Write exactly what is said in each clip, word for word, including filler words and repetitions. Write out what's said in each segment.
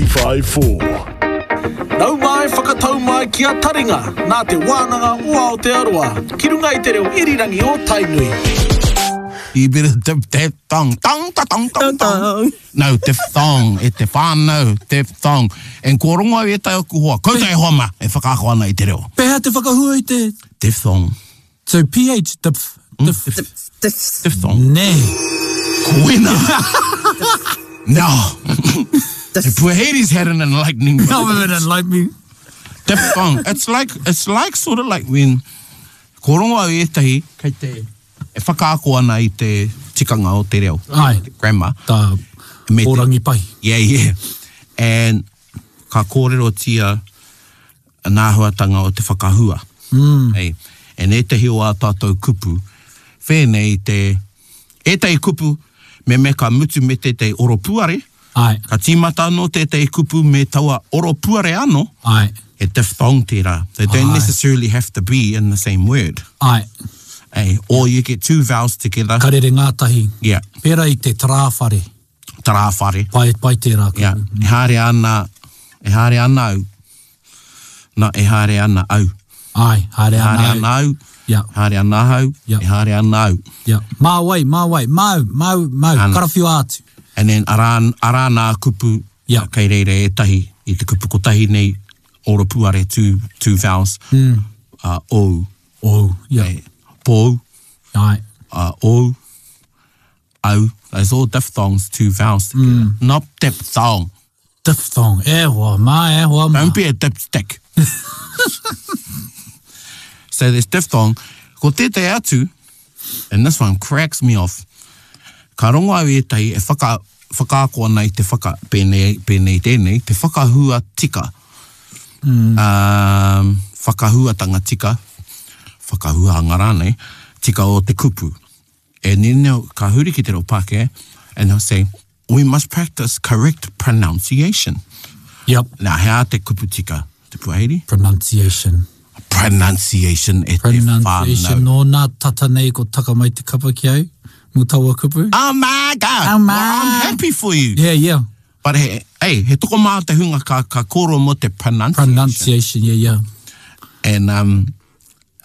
eighty-five point four. Nau mai whakatau mai ki a Taringa, nā Te Wānanga o Aotearoa, ki runga i te reo irirangi o Tainui. You better dip that thong. Tong, ta, tong, tong, tong. No, diphthong. E te whānau, diphthong. And kua rongo au e tai aku hoa. Koutou e hoa ma, e whakaako ana i te reo. Pēhea te whakahua i te? Diphthong. So P H, diph, diph. Diph. Diphthong. Nē. Koina. No. If Puahedi's had an enlightening No, moment. it enlighten me. Diphthong. It's like, it's like sort of like when ko rongo au ētahi kei te e whakaako ana i te tikanga o te reo. Ai. Te grammar. Tā Me te- pōrangi pai. Yeah, yeah. And ka kōrerotia ngā āhuatanga o te whakahua. Mm. Hey. And ētahi o ā tātou kupu, whēnei te, ētahi kupu, me me ka mutu me tētahi oropuare, Ai. ka tīmata anō tētahi kupu me taua oropuare anō, Ai. he diphthong tērā. They don't Ai. necessarily have to be in the same word. Ai. Hey. Or you get two vowels together. Ka rere ngātahi. Yeah. Pērā i te trāwhare. Trāwhare. Pai, pai tērā kupu. Yeah. E haere ana, e haere ana au. Na, e haere ana au. Ai, haere E haere ana ana au. au. Yeah. Haere ana au. Yeah. E haere ana au. Yeah. Mā wai, mā wai, mau, mau, mau, Ana. karawhiua atu. And then arā, arā nā kupu Yeah. kei reira ētahi i te kupu kotahi nei oropuare two, two vowels. Mm. Uh, ou. Oh, yeah. E, pōu, Ai. uh, ou, au. Those all diphthongs, two vowels together. Mm. Not diphthong. Diphthong. E hoa, mā, e hoa, mā. Don't be a dipstick. So there's diphthong. Ko tētahi atu, and this one cracks me off, ka rongo au ētahi e whaka, whakaako ana i te whaka, pēnei, pēnei tēnei, te whakahua tika. Mm. Um, whakahuatanga tika, whakahuanga rānei, tika o te kupu. And then they'll, ka huri ki te reo Pākehā, and they'll say, "We must practice correct pronunciation." Yep. Now, he aha te kupu tika? Te Puahiri? Pronunciation. Pronunciation e te Pronunciation. whānau. Nō nā tata nei ko taka mai te kapa ki au. Mō taua kupu. Oh my God! Oh my. Well, I'm happy for you. Yeah, yeah. But he, hey, he tokomaha te hunga ka, ka kōrero mō te pronunciation. Pronunciation, yeah, yeah. And um,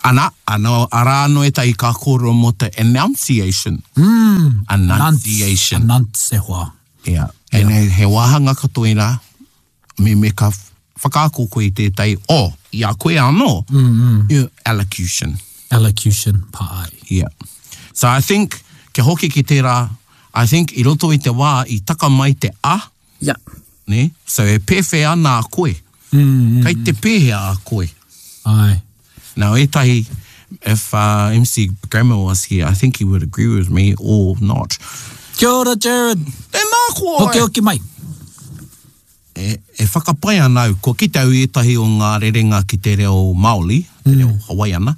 ana, ano, arā anō ētahi ka kōrero mō te enunciation. Mm. Enunciation. Announce e hoa. Yeah. And he, he wāhanga katoa i rā, me me ka whakaako koe i tētahi, o, i a koe anō, mm -hmm. your elocution. Elocution, pāi. Yeah. So I think, kia hoki ki tērā, I think i roto i te wā, i taka mai te a, Yeah. ne? So e pēwhea ana a koe. Mm, mm, Kei te pēhea a koe. Ai. Now, ētahi, if uh, M C Grammar was here, I think he would agree with me or not. Kia ora, Jared. Tēnā koe! Hoki hoki mai. E, e whakapai ana au, kua kite au i ētahi o ngā rerenga ki te reo Māori, te reo Hawaiana,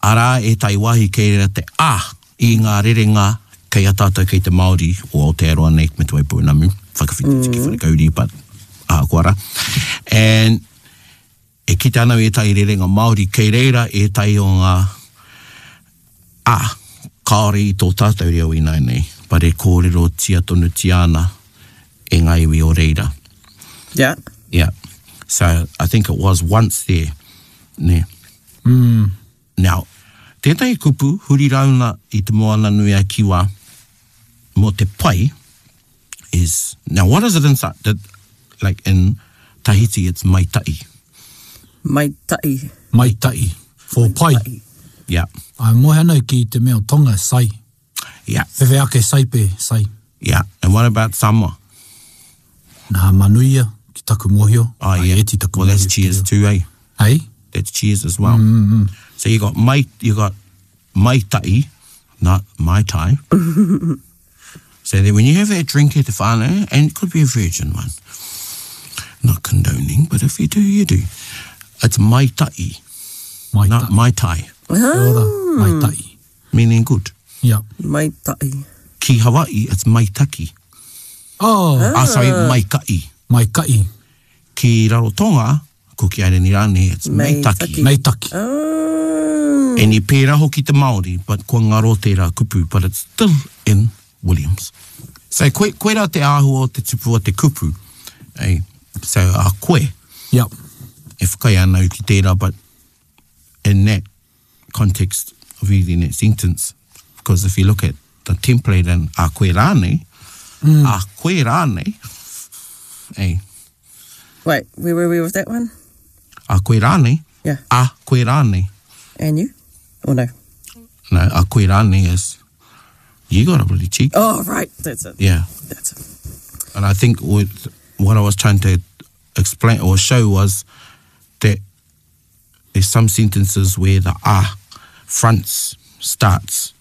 arā ētahi wāhi kei reira te a i ngā rerenga kei a tātou kei te Māori o Aotearoa nei me Te Waipounamu, whakawhiti ki Wharekauri, but ahakoa rā. And e kite ana au i ētahi rerenga Māori, kei reira ētahi o ngā a, kāore i tō tātou reo ināianei, but e kōrerotia tonutia ana e ngā iwi o reira. Yeah. Yeah. So I think it was once there. Ne. Mm. Now, tētahi kupu huri rauna i te moana nui a Kiwa mō te pai is, now what is it inside? That, like in Tahiti, it's maita'i. Mai ta'i. Mai ta'i. For pai. Yeah. Ai, mohe anau ki te mea o Tonga, sai. Yeah. Whewhe ake saipe, sai. Yeah. And what about Samoa? Nā manuia ki taku mōhio. Oh, Ai, yeah. eti taku Well, that's mōhio ki cheers te too, eh? reo. Hey? That's cheers as well. Mm-hmm. So you got mai, you got maita'i, not mai tai. So then when you have that drink at the whānau, and it could be a virgin one, not condoning, but if you do, you do. It's maita'i, Mai not ta'i. mai tai, Kia ora, mai ta'i. Meaning good. Yeah. Mai ta'i. Ki Hawaii, it's maitaki. Oh, Ah, sorry, maika'i. Mai ka'i. Ki Rarotonga, Kuki Airani rānei, it's Meitaki. meitaki. Mai taki. Oh. And i pērā hoki te Māori, but kua ngaro tērā kupu, but it's still in Williams. So koe, koe rā te āhua o te tupu o te kupu. Ei, so a koe, Yep. e whakai ana au ki tērā, but in that context of using that sentence, because if you look at the template and a koe rānei, mm. a koe rānei, ei, Wait, where were we with that one? a koe rānei, Yeah. a koe rānei. And you? Or no? No, a koe rānei is, you got a bloody cheek. Oh, right. That's it. Yeah. That's it. And I think what, what I was trying to explain or show was that there's some sentences where the ah fronts starts,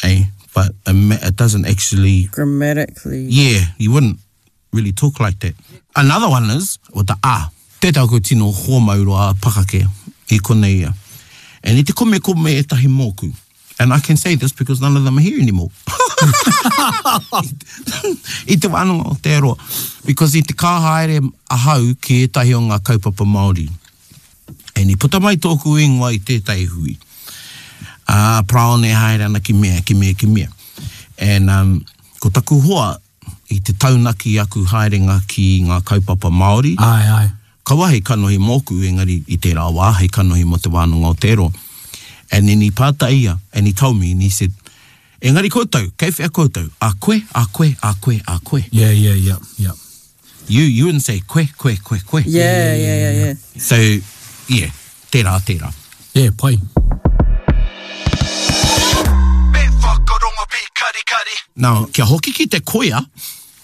eh? But it ma- it doesn't actually. Grammatically. Yeah, you wouldn't really talk like that. Another one is with the ah. Te tau ko tino hoa mauroa pakake i konei ia. And i te kome kome e tahi mōku. And I can say this because none of them are here anymore. I te wānanga o te aroa. Because i te kā haere ahau ki ētahi o ngā kaupapa Māori. And i puta mai tōku ingoa i tētahi hui. Ā, praone haere ana ki mea, ki mea, ki mea. And um, ko taku hoa i te taunaki aku haerenga ki ngā kaupapa Māori. Ai, ai. Kaua hei kanohi mōku, engari i tērā wā, hei kanohi mō te wānanga o te roa. And then he pātai ia, and he told me, and he said, engari koutou, kei whea koutou, a koe, a koe, a koe, a koe. Yeah, yeah, yeah, yeah. You, you wouldn't say koe, koe, koe, koe. Yeah, yeah, yeah, yeah. So, yeah, tērā, tērā. Yeah, pai. Me whakarongo pi kari kari. Now, kia hoki ki te koia,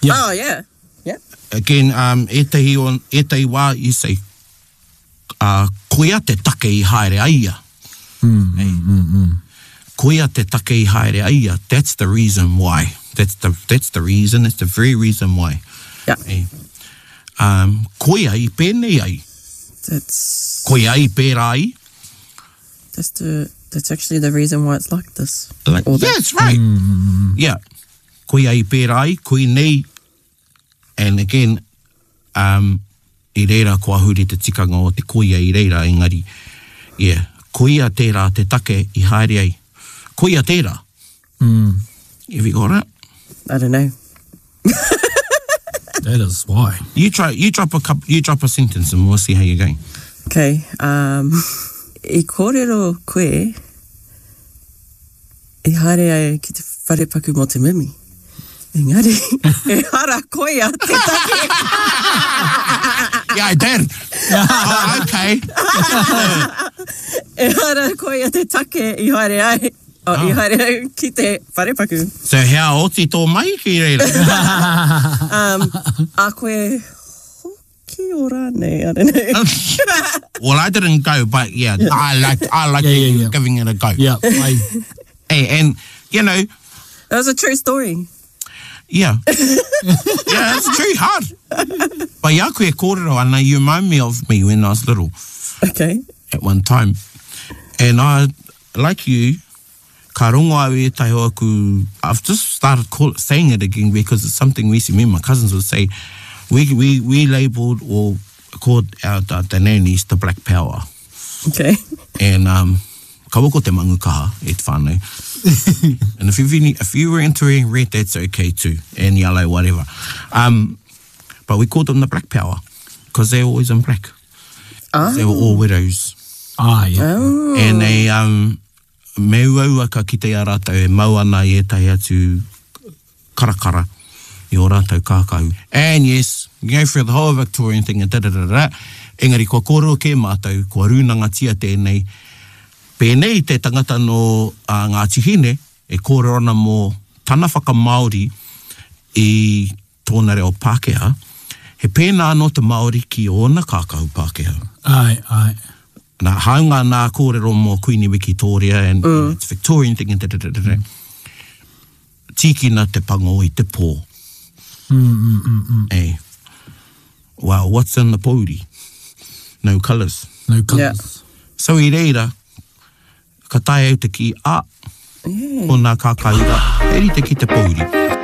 Yeah. Oh, yeah. Yeah. again, um, ētahi, on, ētahi wā, you say, uh, koia te take i haere ai ia. Mm, mm, mm, mm. Koia te take i haere ai ia. That's the reason why. That's the, that's the reason, that's the very reason why. Yeah. Eh. Um, koia i pēnei ai. That's Koia i pērā ai. that's the that's actually the reason why it's like this. Like, Or yeah, that. that's right. Yeah. Koia i pērā ai, koi nei. And again, um, i reira kua huri te tikanga o te koia i reira, engari, yeah, koia tērā te take i haere ai. Koia tērā. Mm. Have you got it? I don't know. That is why. You try, you drop a couple, you drop a sentence and we'll see how you're going. Okay. Um, i kōrero koe i haere ai ki te wharepaku mō te mimi. Engari, e hara koia te take. Yeah, I did. Oh, okay. E hara koia te take i haere ai. Oh, i haere ai ki te wharepaku. So hea oti tō mai ki reira. Um, a koe hoki o rānei, I don't know. Well, I didn't go, but yeah, I like I like Yeah, yeah, yeah. giving it a go. Yeah, pai. Hey, and you know, That was a true story. yeah. Yeah, it's true, hard. But ia koe kōrero ana, you remind me of me when I was little Okay. at one time. And I, like you, ka rongo au e tai o aku, I've just started call, saying it again because it's something we see, me and my cousins would say, we, we, we labelled or called our, the, the nannies the black power. Okay. And um, kaua ko te mangu kaha e te whānau. And if, you've any, if you were into red, that's okay too, and yellow, whatever. Um, but we called them the black power because they were always in black. Ah. They were all widows. Ah, yeah. Oh. And they, um, me uaua ka kite i a rātou e mau ana i ētahi atu karakara i o rātou kākahu. And yes, you go through the whole Victorian thing and da da da da. Engari kua kōrero kē mātou, kua rūnangatia tēnei. Pēnei te tangata no uh, Ngāti Hine e kōrero ana mō tana whakamāori i tōna reo Pākehā. He pēnā anō te Māori ki ōna kākahu Pākehā. Ai, ai. Nā, haunga nā kōrero mō Queenie Victoria and mm. it's Victorian thing and da da da da da. Tīkina te pango i te pō. Mm, mm, mm, mm. Eh. Well, what's in the pōuri? No colours. No colours. So i reira, ka tae au te ki, a, Yeah. ko nā kākaura, e rite ki te pōuri.